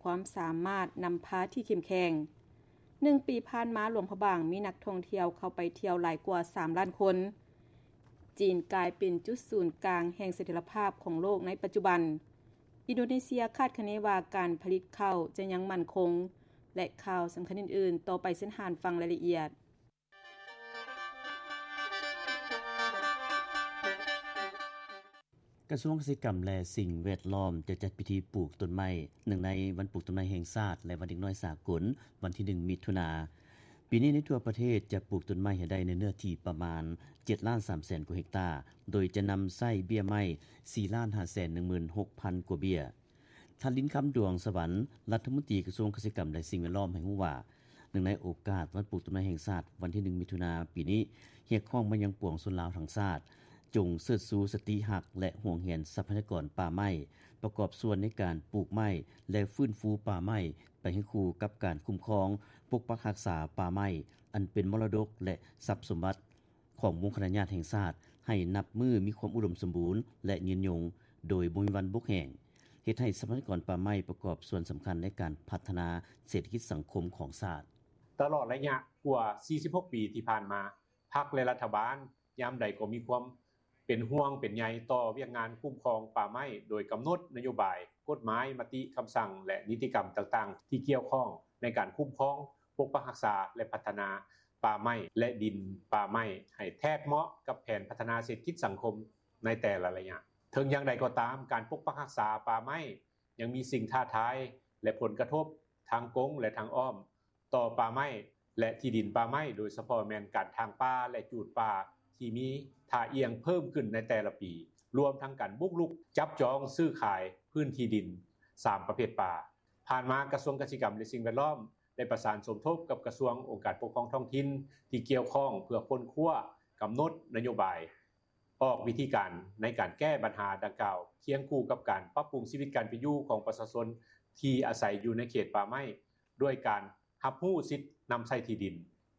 ຄວາມສາມາດນຳພາທີ່ເຂັ້ມແຂງ. ໜຶ່ງປີຜ່ານມາ, ຫຼວງພະບາງມີນັກທ່ອງທ່ຽວເຂົ້າໄປທ່ຽວຫຼາຍກວ່າສາມລ້ານຄົນ. ຈີນກາຍເປັນຈຸດສູນກາງແຫ່ງສະຖຽນລະພາບຂອງໂລກໃນປັດຈຸບັນ. ອິນໂດເນເຊຍຄາດຄະເນວ່າການຜະລິດເຂົ້າຈະຍັງໝັ້ນຄົງ ແລະ ຂ່າວສຳຄັນອື່ນໆ, ຕໍ່ໄປເຊີນທ່ານຟັງລາຍລະອຽດ. ກະຊວງກະສິກຳ ແລະ ສິ່ງແວດລ້ອມ ຈະຈັດພິທີປູກຕົ້ນໄມ້. ເນື່ອງໃນວັນປູກຕົ້ນໄມ້ແຫ່ງຊາດ ແລະ ວັນເດັກນ້ອຍສາກົນ ວັນທີໜຶ່ງ ມິຖຸນາ, ປີນີ້ໃນທົ່ວປະເທດຈະປູກຕົ້ນໄມ້ໃຫ້ໄດ້ໃນເນື້ອທີ່ປະມານເຈັດລ້ານສາມແສນກວ່າເຮັກຕາ, ໂດຍຈະນຳໃຊ້ເບ້ຍໄມ້ສີ່ລ້ານຫ້າແສນໜຶ່ງໝື່ນຫົກພັນກວ່າເບ້ຍ. ທ່ານ ລິນຄຳ ດວງສະຫວັນ ລັດຖະມົນຕີກະຊວງກະສິກຳ ແລະ ສິ່ງແວດລ້ອມ ໃຫ້ຮູ້ວ່າ ເນື່ອງໃນໂອກາດວັນປູກຕົ້ນໄມ້ແຫ່ງຊາດ ວັນທີໜຶ່ງ ມິຖຸນາ ປີນີ້, ຮຽກຮ້ອງມາຍັງປວງຊົນລາວທັງຊາດ ຈົ່ງເຊີດຊູສະຕິຮັກ ແລະ ຫວງແຫນຊັບພະຍາກອນປ່າໄມ້, ປະກອບສ່ວນໃນການປູກໄມ້ ແລະ ຟື້ນຟູປ່າໄມ້ ໄປໃຫ້ຄູ່ກັບການຄຸ້ມຄອງ, ປົກປັກຮັກສາປ່າໄມ້ ອັນເປັນມໍລະດົກ ແລະ ຊັບສົມບັດ ຂອງວົງຄະນະຍາດແຫ່ງຊາດ ໃຫ້ນັບມື້ມີຄວາມອຸດົມສົມບູນ ແລະ ຍືນຍົງ ໂດຍບໍ່ມີວັນບົກແຫ້ງ, ເຮັດໃຫ້ຊັບພະຍາກອນປ່າໄມ້ປະກອບສ່ວນສຳຄັນໃນການພັດທະນາເສດຖະກິດສັງຄົມຂອງຊາດ. ຕະຫຼອດໄລຍະກວ່າສີ່ສິບຫົກປີທີ່ຜ່ານມາ, ພັກ ແລະ ລັດຖະບານຍາມໃດກໍມີຄວາມເປັນຫ່ວງເປັນໃຍຕໍ່ວຽກງານຄຸ້ມຄອງປ່າໄມ້, ໂດຍກຳນົດນະໂຍບາຍ, ກົດໝາຍ, ມະຕິຄຳສັ່ງ ແລະ ນິຕິກຳຕ່າງໆ ທີ່ກ່ຽວຂ້ອງໃນການຄຸ້ມຄອງ, ປົກປັກຮັກສາ ແລະ ພັດທະນາ ປ່າໄມ້ ແລະ ດິນປ່າໄມ້ ໃຫ້ແທດເໝາະກັບແຜນພັດທະນາເສດຖະກິດສັງຄົມໃນແຕ່ລະໄລຍະ. ເຖິງຢ່າງໃດກໍຕາມ, ການປົກປັກຮັກສາປ່າໄມ້ຍັງມີສິ່ງທ້າທາຍ ແລະ ຜົນກະທົບທາງກົງ ແລະ ທາງອ້ອມຕໍ່ປ່າໄມ້ ແລະ ທີ່ດິນປ່າໄມ້, ໂດຍສະເພາະແມ່ນການຖາງປ່າ ແລະ ຈູດປ່າທີ່ມີທ່າອ່ຽງເພີ່ມຂຶ້ນໃນແຕ່ລະປີ, ລວມທັງການບຸກລຸກຈັບຈອງຊື້ຂາຍພື້ນທີ່ດິນສາມປະເພດປ່າ. ຜ່ານມາກະຊວງກະສິກຳ ແລະ ສິ່ງແວດລ້ອມ ໄດ້ປະສານສົມທົບກັບກະຊວງ ອົງການປົກຄອງທ້ອງຖິ່ນທີ່ກ່ຽວຂ້ອງ ເພື່ອຄົ້ນຄວ້າກຳນົດນະໂຍບາຍ, ອອກວິທີການໃນການແກ້ບັນຫາດັ່ງກ່າວ, ຄຽງຄູ່ກັບການປັບປຸງຊີວິດການເປັນຢູ່ຂອງປະຊາຊົນທີ່ອາໄສຢູ່ໃນເຂດປ່າໄມ້ ດ້ວຍການຮັບຮູ້ສິດນຳໃຊ້ທີ່ດິນ,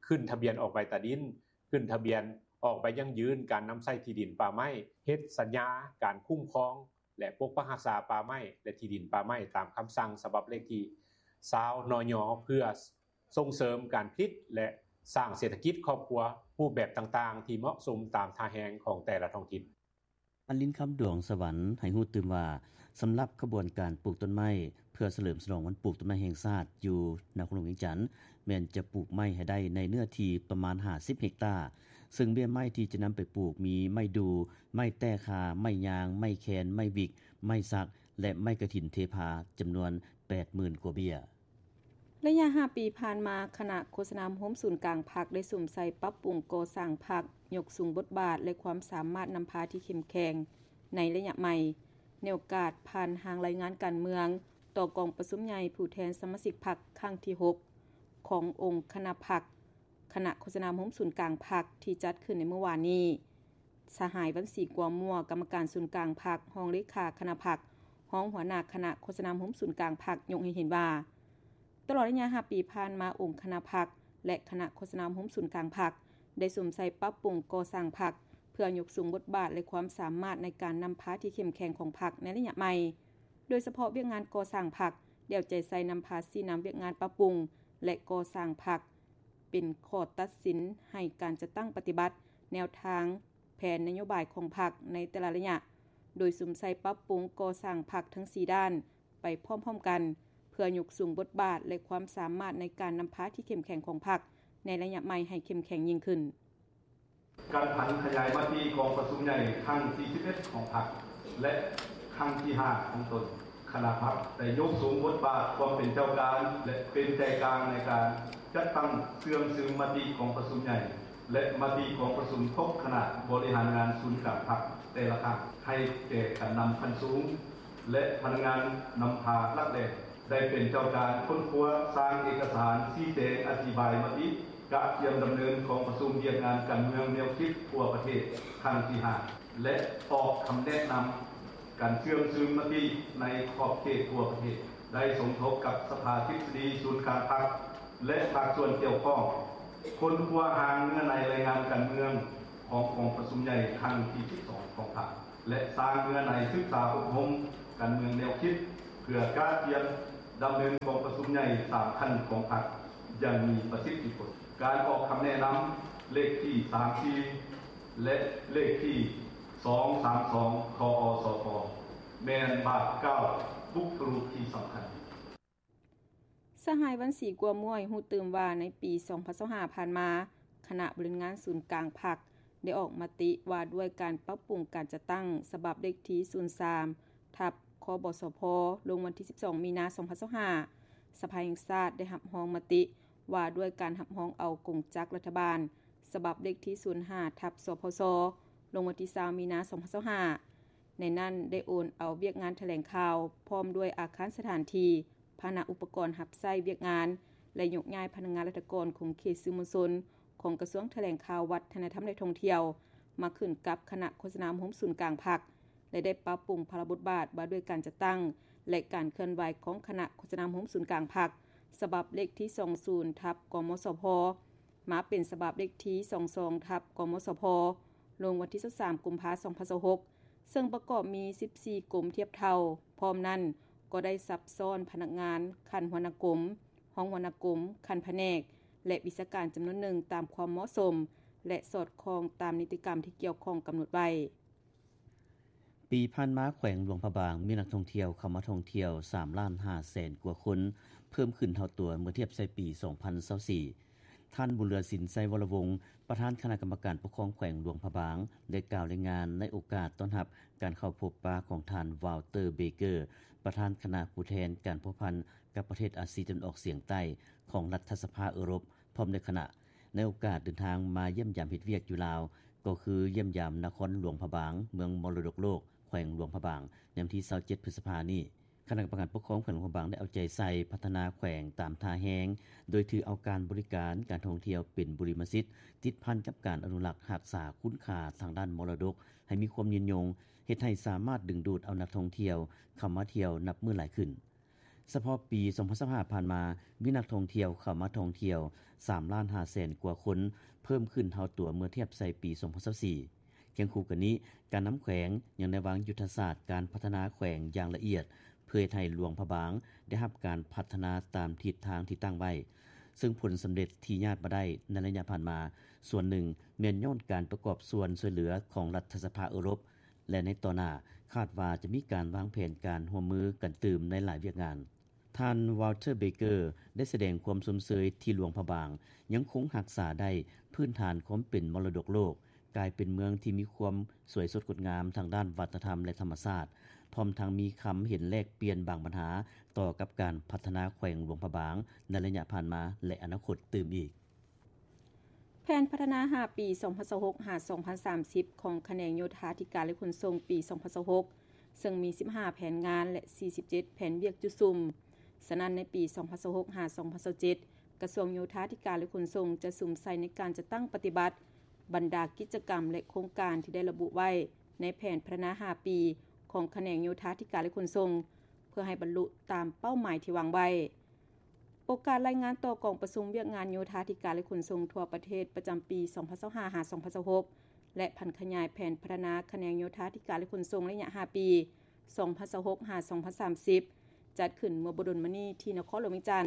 ຂຶ້ນທະບຽນອອກໃບຕາດິນ, ຂຶ້ນທະບຽນອອກໃບຢັ້ງຢືນການນຳໃຊ້ທີ່ດິນປ່າໄມ້, ເຮັດສັນຍາການຄຸ້ມຄອງ ແລະ ປົກປັກຮັກສາປ່າໄມ້ ແລະ ທີ່ດິນປ່າໄມ້ ຕາມຄຳສັ່ງສະບັບເລກທີຊາວ ນຍ ເພື່ອສົ່ງເສີມການຜະລິດ ແລະ ສ້າງເສດຖະກິດຄອບຄົວຮູບແບບຕ່າງໆ ທີ່ເໝາະສົມຕາມທ່າແຮງຂອງແຕ່ລະທ້ອງຖິ່ນ. ທ່ານ ລິນຄຳ ດວງສະຫວັນ ໃຫ້ຮູ້ຕື່ມວ່າ ສຳລັບຂະບວນການປູກຕົ້ນໄມ້ ເພື່ອສະເຫຼີມສະຫຼອງວັນປູກຕົ້ນໄມ້ແຫ່ງຊາດ ຢູ່ນະຄອນຫຼວງວຽງຈັນ ແມ່ນຈະປູກໄມ້ໃຫ້ໄດ້ໃນເນື້ອທີ່ປະມານຫ້າສິບເຮັກຕາ, ເຊິ່ງເບ້ຍໄມ້ທີ່ຈະນຳໄປປູກມີໄມ້ດູ່, ໄມ້ແຕ້ຄາ, ໄມ້ຍາງ, ໄມ້ແຄນ, ໄມ້ວິກ, ໄມ້ສັກ ແລະ ໄມ້ກະຖິນເທພາ ຈຳນວນແປດໝື່ນກວ່າເບ້ຍ. ໄລຍະຫ້າປີຜ່ານມາ, ຄະນະໂຄສະນາອົບຮົມສູນກາງພັກ ໄດ້ສຸມໃສ່ປັບປຸງກໍ່ສ້າງພັກ, ຍົກສູງບົດບາດ ແລະ ຄວາມສາມາດນຳພາທີ່ເຂັ້ມແຂງໃນໄລຍະໃໝ່. ໃນໂອກາດຜ່ານຮ່າງລາຍງານການເມືອງ ຕໍ່ກອງປະຊຸມໃຫຍ່ຜູ້ແທນສະມາຊິກພັກຄັ້ງທີຫົກ ຂອງອົງຄະນະພັກ, ຄະນະໂຄສະນາອົບຮົມສູນກາງພັກ ທີ່ຈັດຂຶ້ນໃນມື້ວານນີ້, ສະຫາຍ ວັນສີ ກົວມົວ ກຳມະການສູນກາງພັກ, ຮອງເລຂາຄະນະພັກ, ຮອງຫົວໜ້າຄະນະໂຄສະນາອົບຮົມສູນກາງພັກ ຍົກໃຫ້ເຫັນວ່າ ຕະຫຼອດໄລຍະຫ້າປີຜ່ານມາ, ອົງຄະນະພັກ ແລະ ຄະນະໂຄສະນາອົບຮົມສູນກາງພັກ ໄດ້ສຸມໃສ່ປັບປຸງກໍ່ສ້າງພັກ ເພື່ອຍົກສູງບົດບາດ ແລະ ຄວາມສາມາດໃນການນຳພາທີ່ເຂັ້ມແຂງຂອງພັກໃນໄລຍະໃໝ່. ໂດຍສະເພາະວຽກງານກໍ່ສ້າງພັກ ໄດ້ເອົາໃຈໃສ່ນຳພາຊີ້ນຳວຽກງານປັບປຸງ ແລະ ກໍ່ສ້າງພັກ ເປັນຂໍ້ຕັດສິນໃຫ້ການຈັດຕັ້ງປະຕິບັດແນວທາງແຜນນະໂຍບາຍຂອງພັກໃນແຕ່ລະໄລຍະ, ໂດຍສຸມໃສ່ປັບປຸງກໍ່ສ້າງພັກທັງສີ່ດ້ານໄປພ້ອມໆກັນ ເພື່ອຍົກສູງບົດບາດ ແລະ ຄວາມສາມາດໃນການນຳພາທີ່ເຂັ້ມແຂງຂອງພັກໃນໄລຍະໃໝ່ໃຫ້ເຂັ້ມແຂງຍິ່ງຂຶ້ນ. ການຜັນຂະຫຍາຍມະຕິກອງປະຊຸມໃຫຍ່ຄັ້ງທີສິບເອັດຂອງພັກ ແລະ ຄັ້ງທີຫ້າຂອງຕົນ, ຄະນະພັກໄດ້ຍົກສູງບົດບາດຄວາມເປັນເຈົ້າການ ແລະ ເປັນໃຈກາງໃນການຈັດຕັ້ງເຊື່ອງຊຶມມະຕິກອງປະຊຸມໃຫຍ່ ແລະ ມະຕິກອງປະຊຸມຄົບຄະນະບໍລິຫານງານສູນກາງພັກແຕ່ລະຄັ້ງ ໃຫ້ແກ່ການນຳຂັ້ນສູງ ແລະ ພະນັກງານນຳພາຫຼັກແຫຼ່ງ ໄດ້ເປັນເຈົ້າການຄົ້ນຄວ້າ, ສ້າງເອກະສານຊີ້ແຈງອະທິບາຍມະຕິ, ກະກຽມດຳເນີນກອງປະຊຸມວຽກງານການເມືອງແນວຄິດທົ່ວປະເທດຄັ້ງທີຫ້າ ແລະ ອອກຄຳແນະນຳການເຊື່ອງຊຶມມະຕິໃນຂອບເຂດທົ່ວປະເທດ, ໄດ້ສົມທົບກັບສະພາທິບສະດີສູນກາງພັກ ແລະ ພາກສ່ວນກ່ຽວຂ້ອງ, ຄົ້ນຄວ້າຮ່າງເນື້ອໃນລາຍງານການເມືອງຂອງກອງປະຊຸມໃຫຍ່ຄັ້ງທີສິບສອງຂອງພັກ ແລະ ສ້າງເນື້ອໃນສຶກສາອົບຮົມການເມືອງແນວຄິດ ເພື່ອກະກຽມ ດຳເນີນກອງປະຊຸມໃຫຍ່ສາມຂັ້ນຂອງພັກຢ່າງມີປະສິດທິຜົນ. ການອອກຄຳແນະນຳເລກທີສາມສີ່ ແລະ ເລກທີສອງສາມສອງ ຂອງ ອສພ ແມ່ນບາດກ້າວບຸກຄະລຸກທີ່ສຳຄັນ. ສະຫາຍ ວັນສີ ກົວມ້ວຍ ຮູ້ຕື່ມວ່າ ໃນປີສອງພັນຊາວຫ້າຜ່ານມາ, ຄະນະບໍລິຫານງານສູນກາງພັກ ໄດ້ອອກມະຕິວ່າດ້ວຍການປັບປຸງການຈັດຕັ້ງ ສະບັບເລກທີສູນສາມ ທັບ ຄບສພ ລົງວັນທີສິບສອງ ມີນາ ສອງພັນຊາວຫ້າ. ສະພາແຫ່ງຊາດໄດ້ຮັບຮອງມະຕິວ່າດ້ວຍການຮັບຮອງເອົາກົງຈັກລັດຖະບານ ສະບັບເລກທີສູນຫ້າ ທັບ ສພຊ ລົງວັນທີຊາວ ມີນາ ສອງພັນຊາວຫ້າ. ໃນນັ້ນໄດ້ໂອນເອົາວຽກງານຖະແຫຼງຂ່າວ ພ້ອມດ້ວຍອາຄານສະຖານທີ່, ພາຫະນະອຸປະກອນຮັບໃຊ້ວຽກງານ ແລະ ຍົກຍ້າຍພະນັກງານລັດຖະກອນຂົງເຂດສື່ມວນຊົນ ຂອງກະຊວງຖະແຫຼງຂ່າວ, ວັດທະນະທຳ ແລະ ທ່ອງທ່ຽວ ມາຂຶ້ນກັບຄະນະໂຄສະນາອົບຮົມສູນກາງພັກ ແລະ ໄດ້ປັບປຸງພາລະບົດບາດວ່າດ້ວຍການຈັດຕັ້ງ ແລະ ການເຄື່ອນໄຫວຂອງຄະນະໂຄສະນາອົບຮົມສູນກາງພັກ ສະບັບເລກທີສອງສູນ ທັບ ກມສພ ມາເປັນສະບັບເລກທີສອງສອງ ທັບ ກມສພ ລົງວັນທີຊາວສາມ ກຸມພາ ສອງພັນຊາວຫົກ ເຊິ່ງປະກອບມີສິບສີ່ກົມທຽບເທົ່າ. ພ້ອມນັ້ນກໍໄດ້ສັບຊ້ອນພະນັກງານຂັ້ນຫົວໜ້າກົມ, ຮອງຫົວໜ້າກົມ, ຂັ້ນພະແນກ ແລະ ວິຊາການຈຳນວນໜຶ່ງຕາມຄວາມເໝາະສົມ ແລະ ສອດຄ່ອງຕາມນິຕິກຳທີ່ກ່ຽວຂ້ອງກຳນົດໄວ້. ປີຜ່ານມາ ແຂວງຫຼວງພະບາງມີນັກທ່ອງທ່ຽວເຂົ້າມາທ່ອງທ່ຽວສາມລ້ານຫ້າແສນກວ່າຄົນ, ເພີ່ມຂຶ້ນເທົ່າຕົວເມື່ອທຽບໃສ່ປີສອງພັນຊາວສີ່. ທ່ານ ບຸນເຫຼືອສິນ ໄຊວໍລະວົງ ປະທານຄະນະກຳມະການປົກຄອງແຂວງຫຼວງພະບາງ ໄດ້ກ່າວລາຍງານໃນໂອກາດຕ້ອນຮັບການເຂົ້າພົບປະຂອງທ່ານ ວາວເຕີ ເບເກີ ປະທານຄະນະຜູ້ແທນການພົວພັນກັບປະເທດອາຊີຕາເວັນອອກສຽງໃຕ້ຂອງລັດຖະສະພາເອີຣົບ ພ້ອມດ້ວຍຄະນະ. ໃນໂອກາດເດີນທາງມາຢ້ຽມຢາມເຮັດວຽກຢູ່ລາວ ກໍຄືຢ້ຽມຢາມນະຄອນຫຼວງພະບາງ, ເມືອງມໍລະດົກໂລກ ແຂວງຫຼວງພະບາງ ໃນວັນທີຊາວເຈັດ ພຶດສະພານີ້. ຄະນະກຳມະການປົກຄອງແຂວງຫຼວງພະບາງໄດ້ເອົາໃຈໃສ່ພັດທະນາແຂວງຕາມທ່າແຮງ, ໂດຍຖືເອົາການບໍລິການການທ່ອງທ່ຽວເປັນບຸລິມະສິດ, ຕິດພັນກັບການອະນຸລັກຮັກສາຄຸນຄ່າທາງດ້ານມໍລະດົກໃຫ້ມີຄວາມຍືນຍົງ, ເຮັດໃຫ້ສາມາດດຶງດູດເອົານັກທ່ອງທ່ຽວເຂົ້າມາທ່ຽວນັບມື້ຫຼາຍຂຶ້ນ. ສະເພາະປີສອງພັນຊາວຫ້າຜ່ານມາ, ມີນັກທ່ອງທ່ຽວເຂົ້າມາທ່ອງທ່ຽວສາມລ້ານຫ້າແສນກວ່າຄົນ, ເພີ່ມຂຶ້ນເທົ່າຕົວເມື່ອທຽບໃສ່ປີສອງພັນຊາວສີ່. ຄຽງຄູ່ກັນນີ້, ການນຳແຂວງຍັງໄດ້ວາງຍຸດທະສາດການພັດທະນາແຂວງຢ່າງລະອຽດ ເພື່ອເຮັດໃຫ້ຫຼວງພະບາງໄດ້ຮັບການພັດທະນາຕາມທິດທາງທີ່ຕັ້ງໄວ້, ເຊິ່ງຜົນສຳເລັດທີ່ຍາດມາໄດ້ໃນໄລຍະຜ່ານມາ, ສ່ວນໜຶ່ງແມ່ນຍ້ອນການປະກອບສ່ວນຊ່ວຍເຫຼືອຂອງລັດຖະສະພາເອີຣົບ ແລະ ໃນຕໍ່ໜ້າຄາດວ່າຈະມີການວາງແຜນການຮ່ວມມືກັນຕື່ມໃນຫຼາຍວຽກງານ. ທ່ານ ວາວເຕີ ເບເກີ ໄດ້ສະແດງຄວາມຊົມເຊີຍທີ່ຫຼວງພະບາງຍັງຄົງຮັກສາໄດ້ພື້ນຖານຄວາມເປັນມໍລະດົກໂລກ, ກາຍເປັນເມືອງທີ່ມີຄວາມສວຍສົດງົດງາມທາງດ້ານວັດທະນະທຳ ແລະ ທຳມະຊາດ, ພ້ອມທັງມີຄຳເຫັນແລກປ່ຽນບາງບັນຫາຕໍ່ກັບການພັດທະນາແຂວງຫຼວງພະບາງໃນໄລຍະຜ່ານມາ ແລະ ອະນາຄົດຕື່ມອີກ. ແຜນພັດທະນາຫ້າປີ ສອງພັນຊາວຫົກ ຫາ ສອງພັນສາມສິບ ຂອງຂະແໜງໂຍທາທິການ ແລະ ຂົນສົ່ງ ປີສອງພັນຊາວຫົກ ເຊິ່ງມີສິບຫ້າແຜນງານ ແລະ ສີ່ສິບເຈັດແຜນວຽກຈຸດສຸມ. ສະນັ້ນ ໃນປີສອງພັນຊາວຫົກ ຫາ ສອງພັນຊາວເຈັດ ກະຊວງໂຍທາທິການ ແລະ ຂົນສົ່ງ ຈະສຸມໃສ່ໃນການຈັດຕັ້ງປະຕິບັດບັນດາກິດຈະກຳ ແລະ ໂຄງການທີ່ໄດ້ລະບຸໄວ້ໃນແຜນພັດທະນາຫ້າປີຂອງຂະແໜງໂຍທາທິການ ແລະ ຂົນສົ່ງ ເພື່ອໃຫ້ບັນລຸຕາມເປົ້າໝາຍທີ່ວາງໄວ້. ໂອກາດລາຍງານຕໍ່ກອງປະຊຸມວຽກງານໂຍທາທິການ ແລະ ຂົນສົ່ງທົ່ວປະເທດປະຈຳປີສອງພັນຊາວຫ້າ ຫາ ສອງພັນຊາວຫົກ ແລະ ຜັນຂະຫຍາຍແຜນພັດທະນາຂະແໜງໂຍທາທິການ ແລະ ຂົນສົ່ງໄລຍະຫ້າປີ ສອງພັນຊາວຫົກ ຫາ ສອງພັນສາມສິບ ຈັດຂຶ້ນເມື່ອບໍ່ດົນມານີ້ທີ່ນະຄອນຫຼວງວຽງຈັນ.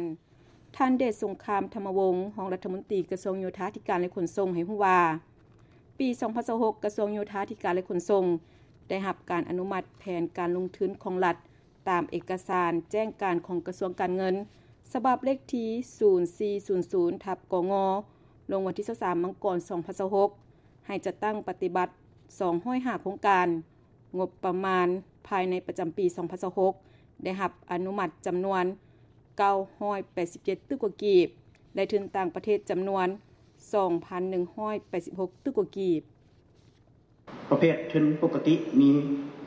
ທ່ານ ເດດສົງຄາມ ທຳມະວົງ ຮອງລັດຖະມົນຕີກະຊວງໂຍທາທິການ ແລະ ຂົນສົ່ງ ໃຫ້ຮູ້ວ່າ ປີສອງພັນຊາວຫົກ ກະຊວງໂຍທາທິການ ແລະ ຂົນສົ່ງ ໄດ້ຮັບການອະນຸມັດແຜນການລົງທຶນຂອງລັດ ຕາມເອກະສານແຈ້ງການຂອງກະຊວງການເງິນ ສະບັບເລກທີສູນສີ່ສູນສູນ ທັບ ກງ ລົງວັນທີຊາວສາມ ມັງກອນ ສອງພັນຊາວຫົກ ໃຫ້ຈັດຕັ້ງປະຕິບັດສອງຮ້ອຍຫ້າໂຄງການ, ງົບປະມານພາຍໃນປະຈຳປີສອງພັນຊາວຫົກ ໄດ້ຮັບອະນຸມັດຈຳນວນເກົ້າຮ້ອຍແປດສິບເຈັດຕື້ກວ່າກີບ ແລະ ທຶນຕ່າງປະເທດຈຳນວນສອງພັນໜຶ່ງຮ້ອຍແປດສິບຫົກຕື້ກວ່າກີບ. ປະເພດທຶນປົກກະຕິມີ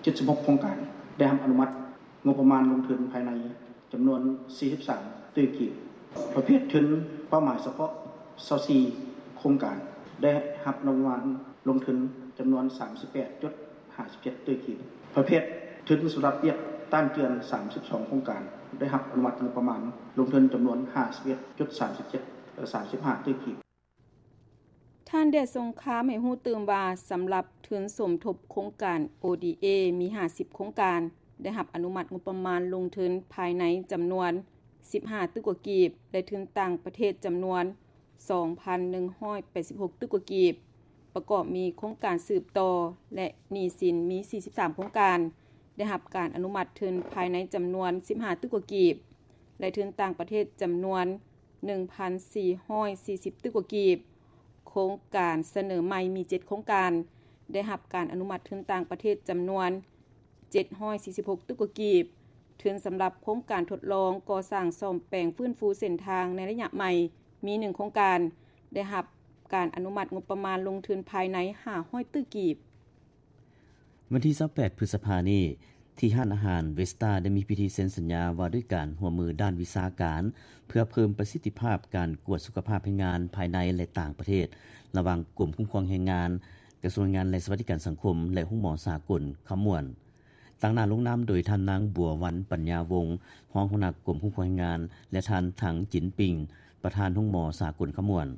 ເຈັດສິບຫົກໂຄງການ ໄດ້ຮັບອະນຸມັດງົບປະມານລົງທຶນພາຍໃນຈຳນວນສີ່ສິບສາມຕື້ກີບ. ປະເພດທຶນເປົ້າໝາຍສະເພາະຊາວສີ່ໂຄງການ ໄດ້ຮັບອະນຸມັດລົງທຶນຈຳນວນສາມສິບແປດຈຸດຫ້າສິບເຈັດຕື້ກີບ. ປະເພດທຶນສຳລັບວຽກຕ້ານເຈື່ອນສາມສິບສອງໂຄງການ ໄດ້ຮັບອະນຸມັດງົບປະມານລົງທຶນຈຳນວນຫ້າສິບເອັດຈຸດສາມສິບເຈັດ ສາມສິບຫ້າຕື້ກີບ. ທ່ານ ເດດສົງຄາມ ໃຫ້ຮູ້ຕື່ມວ່າ ສຳລັບທຶນສົມທົບໂຄງການ ໂອດີເອ ມີຫ້າສິບໂຄງການ ໄດ້ຮັບອະນຸມັດງົບປະມານລົງທຶນພາຍໃນຈຳນວນ ສິບຫ້າຕື້ກວ່າກີບ ແລະ ທຶນຕ່າງປະເທດຈຳນວນສອງພັນໜຶ່ງຮ້ອຍແປດສິບຫົກຕື້ກວ່າກີບ, ປະກອບມີໂຄງການສືບຕໍ່ ແລະ ໜີ້ສິນມີສີ່ສິບສາມໂຄງການ ໄດ້ຮັບການອະນຸມັດທຶນພາຍໃນຈຳນວນສິບຫ້າຕື້ກວ່າກີບ ແລະ ທຶນຕ່າງປະເທດຈຳນວນໜຶ່ງພັນສີ່ຮ້ອຍສີ່ສິບຕື້ກວ່າກີບ. ໂຄງການສະເໜີໃໝ່ມີເຈັດໂຄງການ ໄດ້ຮັບການອະນຸມັດທຶນຕ່າງປະເທດຈຳນວນ ເຈັດຮ້ອຍສີ່ສິບຫົກຕື້ກວ່າກີບ, ທຶນສຳລັບໂຄງການທົດລອງກໍ່ສ້າງສ້ອມແປງຟື້ນຟູເສັ້ນທາງໃນໄລຍະໃໝ່ມີໜຶ່ງໂຄງການ ໄດ້ຮັບການອະນຸມັດງົບປະມານລົງທຶນພາຍໃນຫ້າຮ້ອຍຕື້ກີບ. ວັນທີຊາວແປດ ພຶດສະພານີ້, ທີ່ຮ້ານອາຫານເວສຕາ ໄດ້ມີພິທີເຊັນສັນຍາວ່າດ້ວຍການຮ່ວມມືດ້ານວິຊາການ ເພື່ອເພີ່ມປະສິດທິພາບການກວດສຸຂະພາບແຮງງານພາຍໃນ ແລະ ຕ່າງປະເທດ ລະຫວ່າງກົມຄຸ້ມຄອງແຮງງານ, ກະຊວງແຮງງານ ແລະ ສະຫວັດດີການສັງຄົມ ແລະ ໂຮງໝໍສາກົນຄຳມ່ວນ. ຕາງໜ້າລົງນາມໂດຍທ່ານນາງ ບົວວັນ ປັນຍາວົງ, ຮອງຫົວໜ້າກົມຄຸ້ມຄອງແຮງງານ ແລະ ທ່ານ ຖັງ ຈິນປິງ, ປະທານໂຮງໝໍສາກົນຄຳມ່ວນ.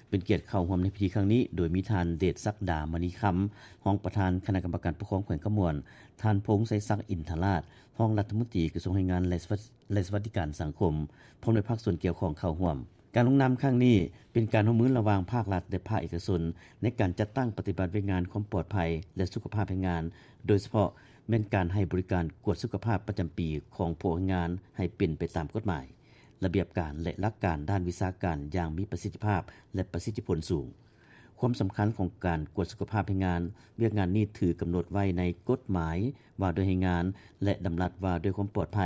ເປັນກຽດເຂົ້າຮ່ວມໃນພິທີຄັ້ງນີ້ ໂດຍມີທ່ານ ເດດສັກດາ ມະນີຄຳ, ຮອງປະທານຄະນະກຳມະການປົກຄອງແຂວງຄຳມ່ວນ, ທ່ານ ພົງໄຊສັກ ອິນທະລາດ, ຮອງລັດຖະມົນຕີກະຊວງແຮງງານ ແລະ ສະຫວັດ ແລະ ສະຫວັດດີການສັງຄົມ, ພ້ອມດ້ວຍພາກສ່ວນກ່ຽວຂ້ອງເຂົ້າຮ່ວມ. ການລົງນາມຄັ້ງນີ້ ເປັນການຮ່ວມມືລະຫວ່າງພາກລັດ ແລະ ພາກເອກະຊົນ ໃນການຈັດຕັ້ງປະຕິບັດວຽກງານຄວາມປອດໄພ ແລະ ສຸຂະພາບແຮງງານ, ໂດຍສະເພາະແມ່ນການໃຫ້ບໍລິການກວດສຸຂະພາບປະຈຳປີຂອງພວກແຮງງານໃຫ້ເປັນໄປຕາມກົດໝາຍ, ລະບຽບການ ແລະ ຫຼັກການດ້ານວິຊາການຢ່າງມີປະສິດທິພາບ ແລະ ປະສິດທິຜົນສູງ. ຄວາມສຳຄັນຂອງການກວດສຸຂະພາບແຮງງານ, ວຽກງານນີ້ຖືກກຳນົດໄວ້ໃນກົດໝາຍວ່າດ້ວຍແຮງງານ ແລະ ດຳລັດວ່າດ້ວຍຄວາມປອດໄພ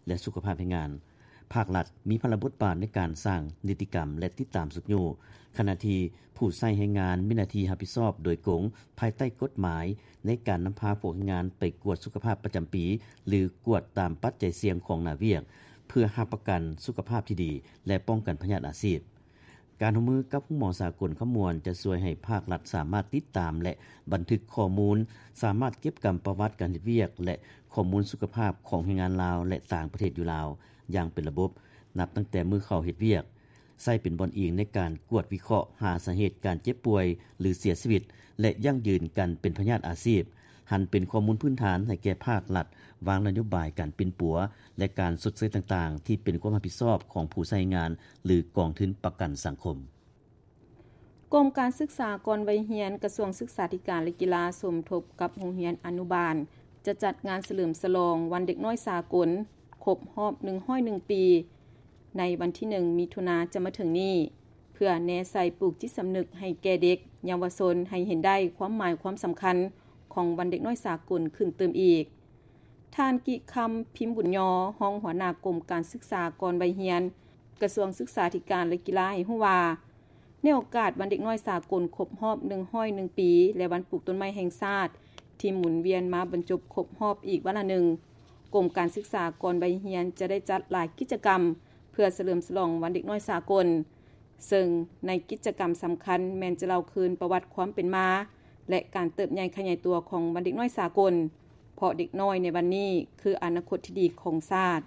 ແລະ ສຸຂະພາບແຮງງານ. ພາກລັດມີພາລະບົດບາດໃນການສ້າງນິຕິກຳ ແລະ ຕິດຕາມຊຸກຍູ້, ຂະນະທີ່ຜູ້ໃຊ້ແຮງງານມີໜ້າທີ່ຮັບຜິດຊອບໂດຍກົງພາຍໃຕ້ກົດໝາຍ ໃນການນຳພາພວກແຮງງານໄປກວດສຸຂະພາບປະຈຳປີ ຫຼື ກວດຕາມປັດໄຈສ່ຽງຂອງໜ້າວຽກ ເພື່ອຮັບປະກັນສຸຂະພາບທີ່ດີ ແລະ ປ້ອງກັນພະຍາດອາຊີບ. ການຮ່ວມມືກັບໂຮງໝໍສາກົນຄຳມ່ວນ ຈະຊ່ວຍໃຫ້ພາກລັດສາມາດຕິດຕາມ ແລະ ບັນທຶກຂໍ້ມູນ, ສາມາດເກັບກຳປະຫວັດການເຮັດວຽກ ແລະ ຂໍ້ມູນສຸຂະພາບຂອງແຮງງານລາວ ແລະ ຕ່າງປະເທດຢູ່ລາວຢ່າງເປັນລະບົບ, ນັບຕັ້ງແຕ່ມື້ເຂົ້າເຮັດວຽກ, ໃຊ້ເປັນບ່ອນອີງໃນການກວດວິເຄາະຫາສາເຫດການເຈັບປ່ວຍ ຫຼື ເສຍຊີວິດ ແລະ ຢັ້ງຢືນການເປັນພະຍາດອາຊີບ, ຫັນເປັນຂໍ້ມູນພື້ນຖານໃຫ້ແກ່ພາກລັດວາງນະໂຍບາຍການປິ່ນປົວ ແລະ ການຊົດເຊີຍຕ່າງໆ ທີ່ເປັນຄວາມຮັບຜິດຊອບຂອງຜູ້ໃຊ້ແຮງງານ ຫຼື ກອງທຶນປະກັນສັງຄົມ. ກົມການສຶກສາກ່ອນໄວຮຽນ ກະຊວງສຶກສາທິການ ແລະ ກິລາ ສົມທົບກັບໂຮງຮຽນອະນຸບານ ຈະຈັດງານສະເຫຼີມສະຫຼອງວັນເດັກນ້ອຍສາກົນ ຄົບຮອບໜຶ່ງຮ້ອຍໜຶ່ງປີ ໃນວັນທີໜຶ່ງ ມິຖຸນາ ຈະມາເຖິງນີ້ ເພື່ອແນໃສ່ປູກຈິດສຳນຶກໃຫ້ແກ່ເດັກເຍົາວະຊົນ ໃຫ້ເຫັນໄດ້ຄວາມໝາຍຄວາມສຳຄັນຂອງວັນເດັກນ້ອຍສາກົນຂຶ້ນຕື່ມອີກ. ທ່ານ ກິຄຳ ພິມບຸນຍໍ ຮອງຫົວໜ້າກົມການສຶກສາກ່ອນໄວຮຽນ ກະຊວງສຶກສາທິການ ແລະ ກິລາ ໃຫ້ຮູ້ວ່າ ໃນໂອກາດວັນເດັກນ້ອຍສາກົນຄົບຮອບໜຶ່ງຮ້ອຍໜຶ່ງປີ ແລະ ວັນປູກຕົ້ນໄມ້ແຫ່ງຊາດ ທີ່ໝູນວຽນມາບັນຈົບຄົບຮອບອີກວາລະໜຶ່ງ, ກົມການສຶກສາກ່ອນໄວຮຽນຈະໄດ້ຈັດຫຼາຍກິດຈະກຳ ເພື່ອສະເຫຼີມສະຫຼອງວັນເດັກນ້ອຍສາກົນ, ເຊິ່ງໃນກິດຈະກຳສຳຄັນແມ່ນຈະເລົ່າຄືນປະຫວັດຄວາມເປັນມາ ແລະ ການເຕີບໃຫຍ່ຂະຫຍາຍຕົວຂອງວັນເດັກນ້ອຍສາກົນ, ເພາະເດັກນ້ອຍໃນວັນນີ້ຄືອະນາຄົດທີ່ດີຂອງຊາດ.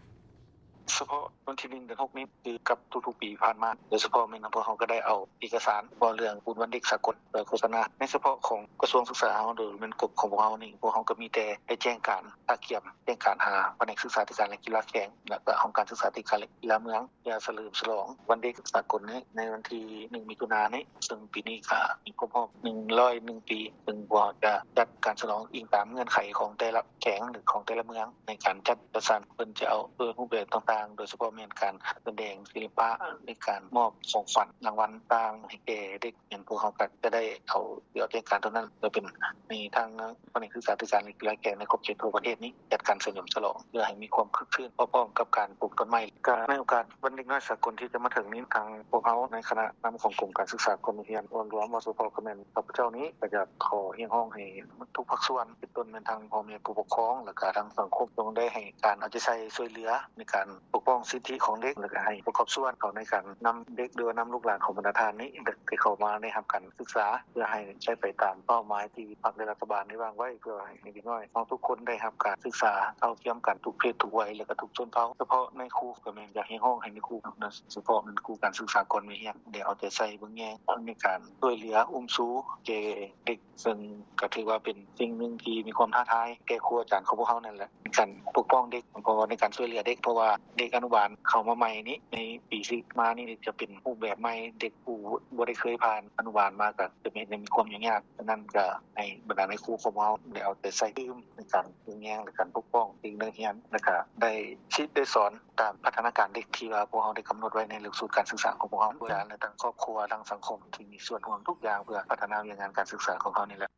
ສະເພາະວັນທີໜຶ່ງ ເດືອນຫົກນີ້ ຄືກັບທຸກໆປີຜ່ານມາ, ໂດຍສະເພາະແມ່ນພວກເຮົາກໍໄດ້ເອົາເອກະສານເວົ້າເລື່ອງບຸນວັນເດັກສາກົນໄປໂຄສະນາ. ໃນສະເພາະຂອງກະຊວງສຶກສາເຮົາ ໂດຍແມ່ນກົມຂອງພວກເຮົານີ້, ພວກເຮົາກໍມີແຕ່ໄດ້ແຈ້ງການຕະກຽມ, ແຈ້ງການຫາພະແນກສຶກສາທິການ ແລະ ກິລາແຂວງ ແລະ ກໍຫ້ອງການສຶກສາທິການ ແລະ ກິລາເມືອງ ເພື່ອສະເຫຼີມສະຫຼອງວັນເດັກສາກົນໃນ ໃນວັນທີໜຶ່ງ ມິຖຸນານີ້, ເຊິ່ງປີນີ້ກໍມີຄົບຮອບໜຶ່ງຮ້ອຍໜຶ່ງປີ, ເຊິ່ງພວກເຮົາຈະຈັດການສະຫຼອງອີງຕາມເງື່ອນໄຂຂອງແຕ່ລະ ແຂວງ ຫຼື ຂອງແຕ່ລະເມືອງໃນການຈັດ ຈັດສັນ. ເພິ່ນຈະເອົາເອີ ຮູບແບບຕ່າງໆ ໂດຍສະເພາະແມ່ນການສະແດງສິລະປະ ຫຼື ການມອບຂອງຂວັນລາງວັນຕ່າງໃຫ້ແກ່ເດັກ. ແມ່ນພວກເຮົາກໍຈະໄດ້ເອົາ ຊິເອົາແຈ້ງການຕົວນັ້ນ ເພື່ອເປັນໃຫ້ທາງພະແນກສຶກສາທິການ ແລະ ກິລາແຂວງໃນຂອບເຂດທົ່ວປະເທດນີ້ ຈັດການສະເຫຼີມສະຫຼອງ ເພື່ອໃຫ້ມີຄວາມຄຶກຄື້ນ ພ້ອມໆກັບການປູກຕົ້ນໄມ້. ກໍໃນໂອກາດວັນເດັກນ້ອຍສາກົນທີ່ຈະມາເຖິງນີ້, ທາງພວກເຮົາໃນຄະນະນຳຂອງກົມການສຶກສາກ່ອນໄວຮຽນ ລວມວ່າສະເພາະກໍແມ່ນຂ້າພະເຈົ້ານີ້ ກໍຢາກຂໍຮຽກຮ້ອງໃຫ້ ທຸກພາກສ່ວນ ເປັນຕົ້ນແມ່ນທັງພໍ່ແມ່ຜູ້ປົກຄອງ ແລ້ວກະທັງສັງຄົມ ຕ້ອງໄດ້ໃຫ້ການເອົາໃຈໃສ່ຊ່ວຍເຫຼືອໃນການປົກປ້ອງສິດທິຂອງເດັກ ແລ້ວກະໃຫ້ປະກອບສ່ວນເຂົ້າໃນການນຳເດັກ ຫຼືວ່ານຳລູກຫຼານຂອງບັນດາທ່ານນີ້ ທີ່ເຂົ້າມາໄດ້ຮັບການສຶກສາ ເພື່ອໃຫ້ໃຊ້ໄປຕາມເປົ້າໝາຍທີ່ພັກ ແລະ ລັດຖະບານໄດ້ວາງໄວ້ ເພື່ອໃຫ້ເດັກນ້ອຍເຮົາທຸກຄົນໄດ້ຮັບການສຶກສາເທົ່າທຽມກັນທຸກເພດທຸກໄວ ແລ້ວກະທຸກຊົນເຜົ່າ. ສະເພາະນາຍຄູ ກໍແມ່ນຢາກຮຽກຮ້ອງໃຫ້ນາຍຄູ ໂດຍສະເພາະແມ່ນຄູການສຶກສາກ່ອນໄວຮຽນ ໄດ້ເອົາໃຈໃສ່ເບິ່ງແຍງໃນການຊ່ວຍເຫຼືອອຸ້ມຊູແກ່ເດັກ ເຊິ່ງກໍຖືວ່າເປັນສິ່ງໜຶ່ງທີ່ມີຄວາມທ້າທາຍແກ່ຄູອາຈານຂອງພວກເຮົານັ້ນແຫຼະ. ການປົກປ້ອງເດັກ ເພາະວ່າໃນການຊ່ວຍເຫຼືອເດັກ ເພາະວ່າເດັກອະນຸບານເຂົ້າມາໃໝ່ນີ້ ໃນປີທີ່ມານີ້ຈະເປັນຮູບແບບໃໝ່ ເດັກຜູ້ບໍ່ໄດ້ເຄີຍຜ່ານອະນຸບານມາ ກໍຈະມີ ມີຄວາມຫຍຸ້ງຍາກ. ສະນັ້ນກໍໃຫ້ບັນດານາຍຄູຂອງເຮົາໄດ້ເອົາໃຈໃສ່ຕື່ມໃນການເບິ່ງແຍງ ແລະ ການປົກປ້ອງເດັກນັກຮຽນ ແລະ ກໍໄດ້ຄິດໄດ້ສອນຕາມພັດທະນາການເດັກທີ່ວ່າພວກເຮົາໄດ້ກຳນົດໄວ້ໃນຫຼັກສູດການສຶກສາຂອງພວກເຮົາ ແລະ ທາງຄອບຄົວ ທາງສັງຄົມທີ່ມີສ່ວນຮ່ວມທຸກຢ່າງ ເພື່ອພັດທະນາວຽກງານການສຶກສາຂອງເຮົານີ້ແຫຼະ.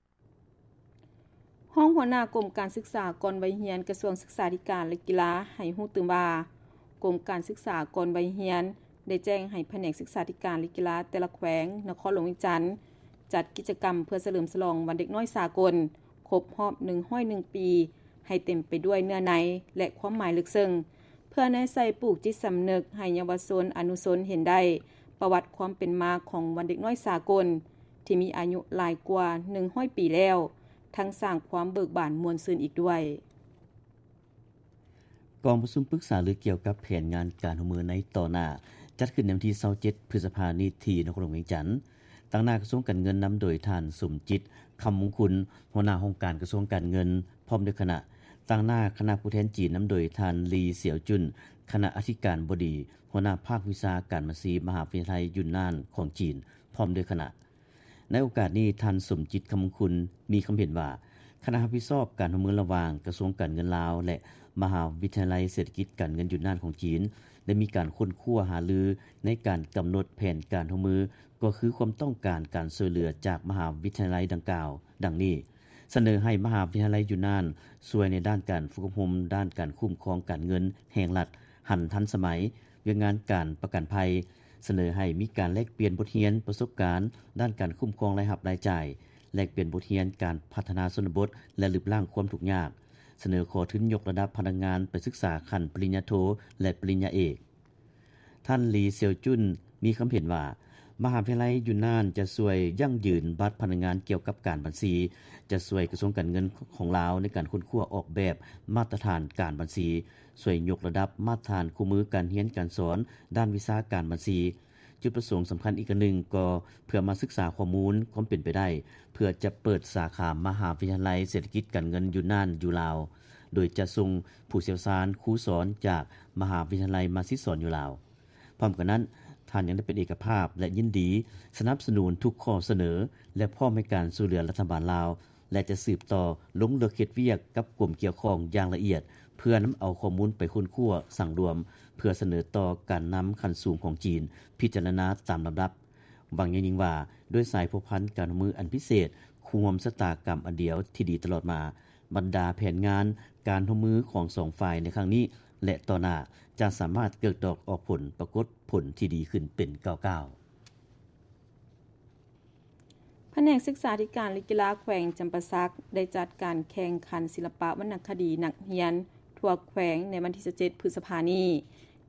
ຮອງຫົວໜ້າກົມການສຶກສາກ່ອນໄວຮຽນ ກະຊວງສຶກສາທິການ ແລະ ກິລາ ໃຫ້ຮູ້ຕື່ມວ່າ ກົມການສຶກສາກ່ອນໄວຮຽນ ໄດ້ແຈ້ງໃຫ້ພະແນກສຶກສາທິການ ແລະ ກິລາ ແຕ່ລະແຂວງນະຄອນຫຼວງວຽງຈັນ ຈັດກິດຈະກຳເພື່ອສະເຫຼີມສະຫຼອງວັນເດັກນ້ອຍສາກົນ ຄົບຮອບໜຶ່ງຮ້ອຍໜຶ່ງປີ ໃຫ້ເຕັມໄປດ້ວຍເນື້ອໃນ ແລະ ຄວາມໝາຍເລິກເຊິ່ງ ເພື່ອແນໃສ່ປູກຈິດສຳນຶກໃຫ້ເຍົາວະຊົນອະນຸຊົນເຫັນໄດ້ປະຫວັດຄວາມເປັນມາຂອງວັນເດັກນ້ອຍສາກົນ ທີ່ມີອາຍຸຫຼາຍກວ່າໜຶ່ງຮ້ອຍປີແລ້ວ ທັງສ້າງຄວາມເບີກບານມ່ວນຊື່ນອີກດ້ວຍ. ກອງປະຊຸມປຶກສາລືກ່ຽວກັບແຜນງານການຮ່ວມມືໃນຕໍ່ໜ້າ ຈັດຂຶ້ນໃນວັນທີຊາວເຈັດ ພຶດສະພານີ້ທີ່ນະຄອນຫຼວງວຽງຈັນ. ຕາງໜ້າກະຊວງການເງິນນຳໂດຍທ່ານ ສົມຈິດ ຄຳມົງຄຸນ ຫົວໜ້າຫ້ອງການກະຊວງການເງິນ ພ້ອມດ້ວຍຄະນະ. ຕາງໜ້າຄະນະຜູ້ແທນຈີນນຳໂດຍທ່ານ ລີ ສຽວຈຸນ ຄະນະອະທິການບໍດີ ຫົວໜ້າພາກວິຊາການບັນຊີ ມະຫາວິທະຍາໄລຢູນນານຂອງຈີນ ພ້ອມດ້ວຍຄະນະ. ໃນໂອກາດນີ້ ທ່ານ ສົມຈິດ ຄຳມົງຄຸນ ມີຄຳເຫັນວ່າ ຄະນະຮັບຜິດຊອບການຮ່ວມມືລະຫວ່າງກະຊວງການເງິນລາວ ແລະ ມະຫາວິທະຍາໄລເສດຖະກິດການເງິນຢູນນານຂອງຈີນ ໄດ້ມີການຄົ້ນຄວ້າຫາລືໃນການກຳນົດແຜນການຮ່ວມມື ກໍຄືຄວາມຕ້ອງການການຊ່ວຍເຫຼືອຈາກມະຫາວິທະຍາໄລດັ່ງກ່າວ ດັ່ງນີ້: ສະເໜີໃຫ້ມະຫາວິທະຍາໄລຢູນນານຊ່ວຍໃນດ້ານການຝຶກອົບຮົມດ້ານການຄຸ້ມຄອງການເງິນແຫ່ງລັດ ຫັນທັນສະໄໝ, ວຽກງານການປະກັນໄພ, ສະເໜີໃຫ້ມີການແລກປ່ຽນບົດຮຽນປະສົບການດ້ານການຄຸ້ມຄອງລາຍຮັບລາຍຈ່າຍ, ແລກປ່ຽນບົດຮຽນການພັດທະນາຊົນນະບົດ ແລະ ລຶບລ້າງຄວາມທຸກຍາກ, ສະເໜີຂໍທຶນຍົກລະດັບພະນັກງານໄປສຶກສາຂັ້ນປະລິນຍາໂທ ແລະ ປະລິນຍາເອກ. ທ່ານ ລີ ສຽວຈຸນ ມີຄຳເຫັນວ່າ ມະຫາວິທະຍາໄລຢູນນານຈະຊ່ວຍຢັ້ງຢືນບັດພະນັກງານກ່ຽວກັບການບັນຊີ, ຈະຊ່ວຍກະຊວງການເງິນຂອງລາວໃນການຄົ້ນຄວ້າອອກແບບມາດຕະຖານການບັນຊີ, ຊ່ວຍຍົກລະດັບມາດຕະຖານຄູ່ມືການຮຽນການສອນດ້ານວິຊາການບັນຊີ. ຈຸດປະສົງສຳຄັນອີກອັນໜຶ່ງກໍເພື່ອມາສຶກສາຂໍ້ມູນຄວາມເປັນໄປໄດ້ ເພື່ອຈະເປີດສາຂາມະຫາວິທະຍາໄລເສດຖະກິດການເງິນຢູນນານຢູ່ລາວ, ໂດຍຈະສົ່ງຜູ້ຊ່ຽວຊານຄູສອນຈາກມະຫາວິທະຍາໄລມາສິດສອນຢູ່ລາວ. ພ້ອມກັນນັ້ນ, ທ່ານຍັງໄດ້ເປັນເອກະພາບ ແລະ ຍິນດີສະໜັບສະໜູນທຸກຂໍ້ສະເໜີ ແລະ ພ້ອມໃຫ້ການຊ່ວຍເຫຼືອລັດຖະບານລາວ ແລະ ຈະສືບຕໍ່ລົງເລິກເຮັດວຽກກັບກົມກ່ຽວຂ້ອງຢ່າງລະອຽດ ເພື່ອນຳເອົາຂໍ້ມູນໄປຄົ້ນຄວ້າສັງລວມ ເພື່ອສະເໜີຕໍ່ການນຳຂັ້ນສູງຂອງຈີນພິຈາລະນາຕາມລຳດັບ. ຫວັງຢ່າງຍິ່ງວ່າ ດ້ວຍສາຍພົວພັນການຮ່ວມມືອັນພິເສດ, ຄູ່ຮ່ວມຊະຕາກຳອັນດຽວທີ່ດີຕະຫຼອດມາ, ບັນດາແຜນງານການຮ່ວມມືຂອງສອງຝ່າຍໃນຄັ້ງນີ້ ແລະ ຕໍ່ໜ້າ ຈະສາມາດເກີດດອກອອກຜົນ, ປາກົດຜົນທີ່ດີຂຶ້ນເປັນກ້າວໆ. ພະແນກສຶກສາທິການ ແລະ ກິລາແຂວງຈຳປາສັກ ໄດ້ຈັດການແຂ່ງຂັນສິລະປະວັນນະຄະດີນັກຮຽນທົ່ວແຂວງໃນວັນທີຊາວເຈັດ ພຶດສະພານີ້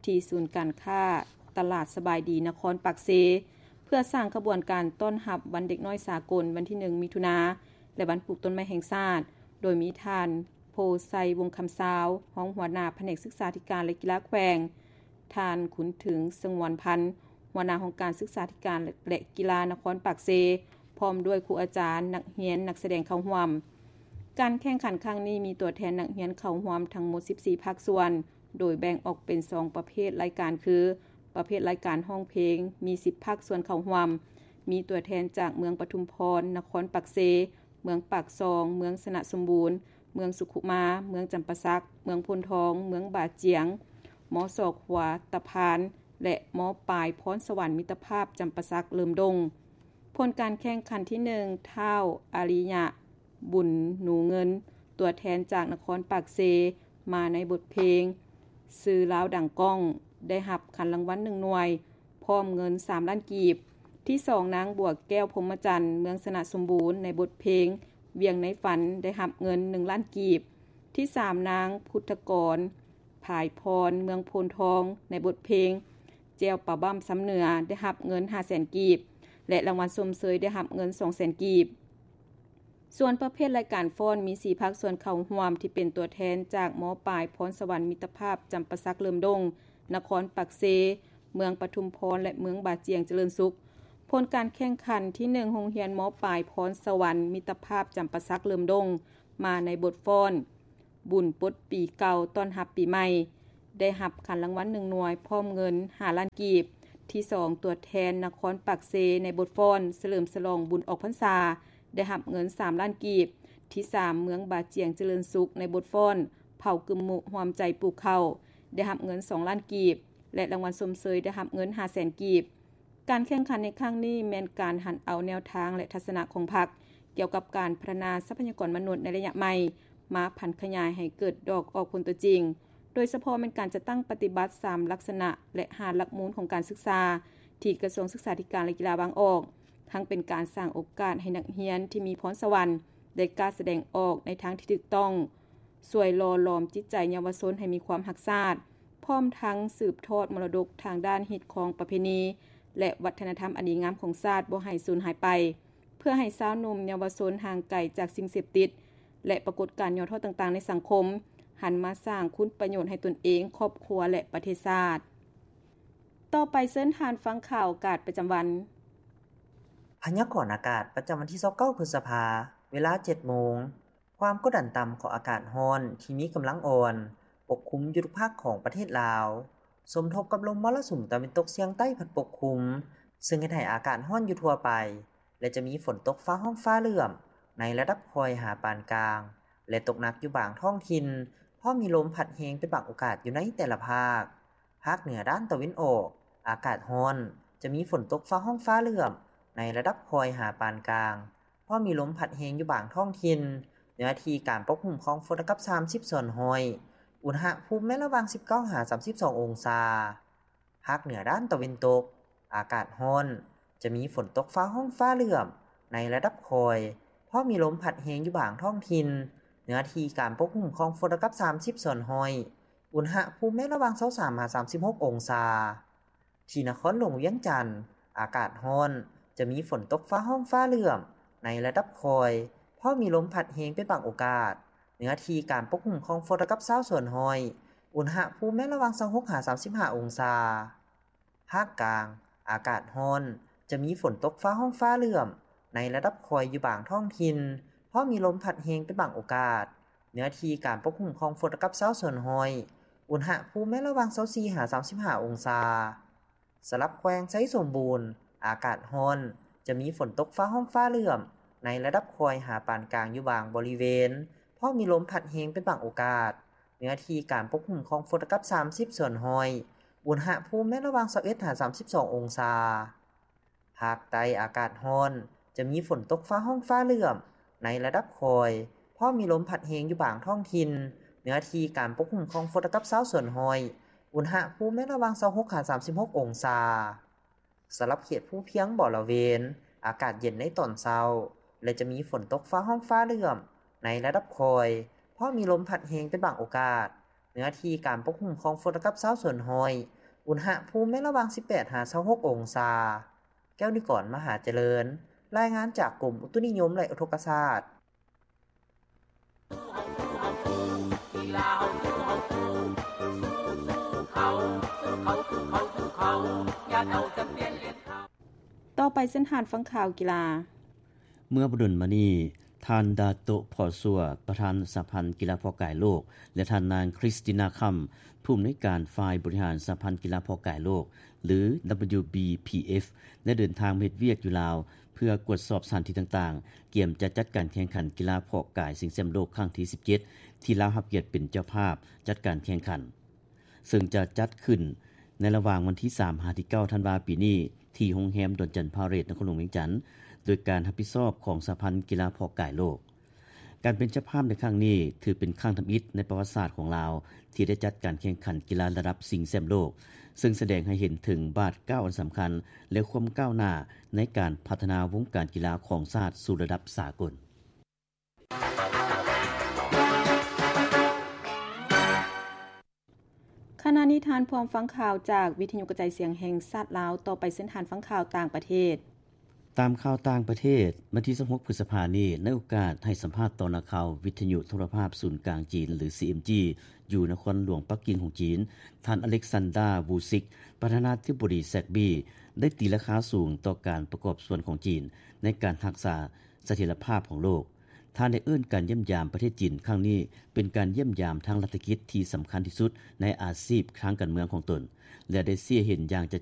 ທີ່ສູນການຄ້າຕະຫຼາດສະບາຍດີນະຄອນປາກເຊ ເພື່ອສ້າງຂະບວນການຕ້ອນຮັບວັນເດັກນ້ອຍສາກົນ ວັນທີໜຶ່ງ ມິຖຸນາ ແລະ ວັນປູກຕົ້ນໄມ້ແຫ່ງຊາດ ໂດຍມີທ່ານ ໂພໄຊ ວົງຄຳຊາວ ຮອງຫົວໜ້າພະແນກສຶກສາທິການ ແລະ ກິລາແຂວງ, ທ່ານ ຂຸນເຖິງ ສະຫງວນພັນ ຫົວໜ້າຫ້ອງການສຶກສາທິການ ແລະ ກິລານະຄອນປາກເຊ ພ້ອມດ້ວຍຄູອາຈານ, ນັກຮຽນ, ນັກສະແດງເຂົ້າຮ່ວມ. ການແຂ່ງຂັນຄັ້ງນີ້ມີຕົວແທນນັກຮຽນເຂົ້າຮ່ວມທັງໝົດສິບສີ່ພາກສ່ວນ, ໂດຍແບ່ງອອກເປັນສອງປະເພດລາຍການຄື ປະເພດລາຍການຮ້ອງເພງ ມີສິບພາກສ່ວນເຂົ້າຮ່ວມ, ມີຕົວແທນຈາກເມືອງປະທຸມພອນ, ນະຄອນປາກເຊ, ເມືອງປາກຊ່ອງ, ເມືອງຊະນະສົມບູນ, ເມືອງສຸຂຸມາ, ເມືອງຈຳປາສັກ, ເມືອງໂພນທອງ, ເມືອງບາຈຽງ, ມສ ຂົວຕະພານ ແລະ ມປາຍພອນສະຫວັນມິດຕະພາບຈຳປາສັກເຫຼີມດົງ. ຜົນການແຂ່ງຂັນທີໜຶ່ງ ທ້າວ ອາລິຍະ ບຸນໜູເງິນ ຕົວແທນຈາກນະຄອນປາກເຊ ມາໃນບົດເພງຊື່ລາວດັງກ້ອງ ໄດ້ຮັບຂັນລາງວັນໜຶ່ງໜ່ວຍ ພ້ອມເງິນສາມລ້ານກີບ. ທີສອງ ນາງ ບົວແກ້ວ ພົມມະຈັນ ເມືອງຊະນະສົມບູນ ໃນບົດເພງວຽງໃນຝັນ ໄດ້ຮັບເງິນໜຶ່ງລ້ານກີບ. ທີສາມ ນາງ ພຸດທະກອນ ພາຍພອນ ເມືອງໂພນທອງ ໃນບົດເພງແຈ່ວປາບ້ຳຊຳເໜືອ ໄດ້ຮັບເງິນຫ້າແສນກີບ ແລະ ລາງວັນຊົມເຊີຍໄດ້ຮັບເງິນສອງແສນກີບ. ສ່ວນປະເພດລາຍການຟ້ອນ ມີສີ່ພາກສ່ວນເຂົ້າຮ່ວມ ທີ່ເປັນຕົວແທນຈາກ ມປາຍພອນສະຫວັນມິດຕະພາບຈຳປາສັກເຫຼີມດົງ, ນະຄອນປາກເຊ, ເມືອງປະທຸມພອນ ແລະ ເມືອງບາຈຽງຈະເລີນສຸກ. ຜົນການແຂ່ງຂັນທີໜຶ່ງ ໂຮງຮຽນ ມປາຍພອນສະຫວັນມິດຕະພາບຈຳປາສັກເຫຼີມດົງ ມາໃນບົດຟ້ອນ ບຸນປົດປີເກົ່າຕ້ອນຮັບປີໃໝ່ ໄດ້ຮັບຂັນລາງວັນໜຶ່ງໜ່ວຍ ພ້ອມເງິນຫ້າລ້ານກີບ. ທີສອງ ຕົວແທນນະຄອນປາກເຊ ໃນບົດຟ້ອນສະເຫຼີມສະຫຼອງບຸນອອກພັນສາ ໄດ້ຮັບເງິນສາມລ້ານກີບ. ທີສາມ ເມືອງບາຈຽງຈະເລີນສຸກ ໃນບົດຟ້ອນເຜົ່າກຶມມຸຮ່ວມໃຈປູກເຂົ້າ ໄດ້ຮັບເງິນສອງລ້ານກີບ ແລະ ລາງວັນຊົມເຊີຍໄດ້ຮັບເງິນຫ້າແສນກີບ. ການແຂ່ງຂັນໃນຄັ້ງນີ້ແມ່ນການຫັນເອົາແນວທາງ ແລະ ທັດສະນະຂອງພັກ ກ່ຽວກັບການພັດທະນາຊັບພະຍາກອນມະນຸດໃນໄລຍະໃໝ່ ມາຜັນຂະຫຍາຍໃຫ້ເກີດດອກອອກຜົນຕົວຈິງ, ໂດຍສະເພາະແມ່ນການຈັດຕັ້ງປະຕິບັດສາມລັກສະນະ ແລະ ຫ້າຫຼັກມູນຂອງການສຶກສາ ທີ່ກະຊວງສຶກສາທິການ ແລະ ກິລາວາງອອກ, ທັງເປັນການສ້າງໂອກາດໃຫ້ນັກຮຽນທີ່ມີພອນສະຫວັນໄດ້ກ້າສະແດງອອກໃນທາງທີ່ຖືກຕ້ອງ, ຊ່ວຍຫຼໍ່ຫຼອມຈິດໃຈເຍົາວະຊົນໃຫ້ມີຄວາມຮັກຊາດ, ພ້ອມທັງສືບທອດມໍລະດົກທາງດ້ານຮີດຄອງປະເພນີ ແລະ ວັດທະນະທຳອັນດີງາມຂອງຊາດບໍ່ໃຫ້ສູນຫາຍໄປ, ເພື່ອໃຫ້ຊາວໜຸ່ມເຍົາວະຊົນຫ່າງໄກຈາກສິ່ງເສບຕິດ ແລະ ປາກົດການຫຍໍ້ທໍ້ຕ່າງໆໃນສັງຄົມ, ຫັນມາສ້າງຄຸນປະໂຫຍດໃຫ້ຕົນເອງ, ຄອບຄົວ ແລະ ປະເທດຊາດ. ຕໍ່ໄປເຊີນທ່ານຟັງຂ່າວອາກາດປະຈຳວັນ. ພະຍາກອນອາກາດປະຈຳວັນທີຊາວເກົ້າ ພຶດສະພາ, ເວລາເຈັດໂມງ. ຄວາມກົດດັນຕ່ຳຂອງອາກາດຮ້ອນທີ່ມີກຳລັງອ່ອນປົກຄຸມຢູ່ທຸກພາກຂອງປະເທດລາວ, ສົມທົບກັບລົມມໍລະສຸມຕາເວັນຕົກສຽງໃຕ້ພັດປົກຄຸມ, ເຊິ່ງເຮັດໃຫ້ອາກາດຮ້ອນຢູ່ທົ່ວໄປ ແລະ ຈະມີຝົນຕົກຟ້າຮ້ອງຟ້າເຫຼື້ອມໃນລະດັບຄ່ອຍຫາປານກາງ ແລະ ຕົກໜັກຢູ່ບາງທ້ອງຖິ່ນ, ພ້ອມມີລົມພັດແຮງເປັນບາງໂອກາດຢູ່ໃນແຕ່ລະພາກ. ພາກເໜືອດ້ານຕາເວັນອອກ, ອາກາດຮ້ອນ, ຈະມີຝົນຕົກຟ້າຮ້ອງຟ້າເຫຼື້ອມໃນລະດັບຄ່ອຍຫາປານກາງ, ພໍມີລົມພັດແຮງຢູ່ບາງທ້ອງຖິ່ນ, ເນື້ອທີ່ການປົກຄຸມຂອງຝົນລະດັບສາມສິບສ່ວນຮ້ອຍ, ອຸນຫະພູມແມ່ນລະຫວ່າງສິບເກົ້າຫາສາມສິບສອງອົງສາ. ພາກເໜືອດ້ານຕາເວັນຕົກ, ອາກາດຮ້ອນ, ຈະມີຝົນຕົກຟ້າຮ້ອງຟ້າເຫຼື້ອມໃນລະດັບຄ່ອຍ, ພໍມີລົມພັດແຮງຢູ່ບາງທ້ອງຖິ່ນ, ເນື້ອທີ່ການປົກຄຸມຂອງຝົນລະດັບສາມສິບສ່ວນຮ້ອຍ, ອຸນຫະພູມແມ່ນລະຫວ່າງຊາວສາມຫາສາມສິບຫົກອົງສາ. ທີ່ນະຄອນຫຼວງວຽງຈັນ, ອາກາດຮ້ອນ, ຈະມີຝົນຕົກຟ້າຮ້ອງຟ້າເຫຼື້ອມໃນລະດັບຄ່ອຍ, ພໍມີລົມພັດແຮງເປັນບາງໂອກາດ, ເນື້ອທີ່ການປົກຄຸມຂອງຝົນລະດັບຊາວສ່ວນຮ້ອຍ, ອຸນຫະພູມແມ່ນລະຫວ່າງຊາວຫົກຫາສາມສິບຫ້າອົງສາ. ພາກກາງ, ອາກາດຮ້ອນ, ຈະມີຝົນຕົກຟ້າຮ້ອງຟ້າເຫຼື້ອມໃນລະດັບຄ່ອຍຢູ່ບາງທ້ອງຖິ່ນ, ພໍມີລົມພັດແຮງເປັນບາງໂອກາດ, ເນື້ອທີ່ການປົກຄຸມຂອງຝົນລະດັບຊາວສ່ວນຮ້ອຍ, ອຸນຫະພູມແມ່ນລະຫວ່າງຊາວສີ່ຫາສາມສິບຫ້າອົງສາ. ສຳລັບແຂວງໄຊສົມບູນ, ອາກາດຮ້ອນ, ຈະມີຝົນຕົກຟ້າຮ້ອງຟ້າເຫຼື້ອມໃນລະດັບຄ່ອຍຫາປານກາງຢູ່ບາງບໍລິເວນ, ພໍມີລົມພັດແຮງເປັນບາງໂອກາດ, ເນື້ອທີ່ການປົກຄຸມຂອງຝົນລະດັບສາມສິບສ່ວນຮ້ອຍ, ອຸນຫະພູມແມ່ນລະຫວ່າງຊາວເອັດຫາສາມສິບສອງອົງສາ. ພາກໃຕ້ອາກາດຮ້ອນ, ຈະມີຝົນຕົກຟ້າຮ້ອງຟ້າເຫຼື້ອມໃນລະດັບຄ່ອຍ, ພໍມີລົມພັດແຮງຢູ່ບາງທ້ອງຖິ່ນ, ເນື້ອທີ່ການປົກຄຸມຂອງຝົນລະດັບຊາວສ່ວນຮ້ອຍ, ອຸນຫະພູມແມ່ນລະຫວ່າງຊາວຫົກຫາສາມສິບຫົກອົງສາ. ສຳລັບເຂດພູພຽງບໍລະເວນ, ອາກາດເຢັນໃນຕອນເຊົ້າ ແລະ ຈະມີຝົນຕົກຟ້າຮ້ອງຟ້າເຫຼື້ອມໃນລະດັບຄ່ອຍ, ພໍມີລົມພັດແຮງເປັນບາງໂອກາດ, ເນື້ອທີ່ການປົກຄຸມຂອງຝົນລະດັບຊາວສ່ວນຮ້ອຍ, ອຸນຫະພູມແມ່ນລະຫວ່າງສິບແປດຫາຊາວຫົກອົງສາ. ແກ້ວນິກອນ ມະຫາຈະເລີນ, ລາຍງານຈາກກົມອຸຕຸນິຍົມ ແລະ ອຸທົກກະສາດ. ຕໍ່ໄປເຊີນທ່ານຟັງຂ່າວກິລາ. ເມື່ອບໍ່ດົນມານີ້, ທ່ານ ດາໂຕະ ພໍ້ຊົ່ວ ປະທານສະຫະພັນກິລາເພາະກາຍໂລກ ແລະ ທ່ານນາງ ຄຣິສຕິນາ ຄຳ ຜູ້ອຳນວຍການຝ່າຍບໍລິຫານສະຫະພັນກິລາເພາະກາຍໂລກ ຫຼື WBPF ໄດ້ເດີນທາງມາເຮັດວຽກຢູ່ລາວ ເພື່ອກວດສອບສະຖານທີ່ຕ່າງໆ, ກຽມຈະຈັດການແຂ່ງຂັນກິລາເພາະກາຍຊິງແຊ້ມໂລກຄັ້ງທີສິບເຈັດ ທີ່ລາວຮັບກຽດເປັນເຈົ້າພາບຈັດການແຂ່ງຂັນ. ເຊິ່ງຈະຈັດຂຶ້ນໃນລະຫວ່າງວັນທີສາມຫາທີເກົ້າທັນວາປີນີ້ ທີ່ໂຮງແຮມດອນຈັນພາເຣດ ນະຄອນຫຼວງວຽງຈັນ ໂດຍການຮັບຜິດຊອບຂອງສະຫະພັນກິລາເພາະກາຍໂລກ. ການເປັນເຈົ້າພາບໃນຄັ້ງນີ້ ຖືເປັນຄັ້ງທຳອິດໃນປະຫວັດສາດຂອງລາວ ທີ່ໄດ້ຈັດການແຂ່ງຂັນກິລາລະດັບຊິງແຊ້ມໂລກ, ເຊິ່ງສະແດງໃຫ້ເຫັນເຖິງບາດກ້າວອັນສຳຄັນ ແລະ ຄວາມກ້າວໜ້າໃນການພັດທະນາວົງການກິລາຂອງຊາດສູ່ລະດັບສາກົນ. ຂະນະນີ້ທ່ານພ້ອມຟັງຂ່າວຈາກວິທະຍຸກະຈາຍສຽງແຫ່ງຊາດລາວ. ຕໍ່ໄປເຊີນທ່ານຟັງຂ່າວຕ່າງປະເທດ. ຕາມຂ່າວຕ່າງປະເທດ, ວັນທີຊາວຫົກ ພຶດສະພານີ້, ໃນໂອກາດໃຫ້ສຳພາດຕໍ່ນັກຂ່າວວິທະຍຸໂທລະພາບສູນກາງຈີນ ຫຼື CMG ຢູ່ນະຄອນຫຼວງປັກກິ່ງຂອງຈີນ, ທ່ານ ອາເລັກຊານດາ ວູຊິກ ປະທານາທິບໍດີ ແຊັກບີ ໄດ້ຕີລາຄາສູງຕໍ່ການປະກອບສ່ວນຂອງຈີນໃນການຮັກສາສະຖຽນລະພາບຂອງໂລກ. ທ່ານໄດ້ເອີ້ນການຢ້ຽມຢາມປະເທດຈີນຄັ້ງນີ້ ເປັນການຢ້ຽມຢາມທາງລັດຖະກິດທີ່ສຳຄັນທີ່ສຸດໃນອາຊີບທາງການເມືອງຂອງຕົນ ແລະ ໄດ້ຊີ້ໃຫ້ເຫັນຢ່າງຈະ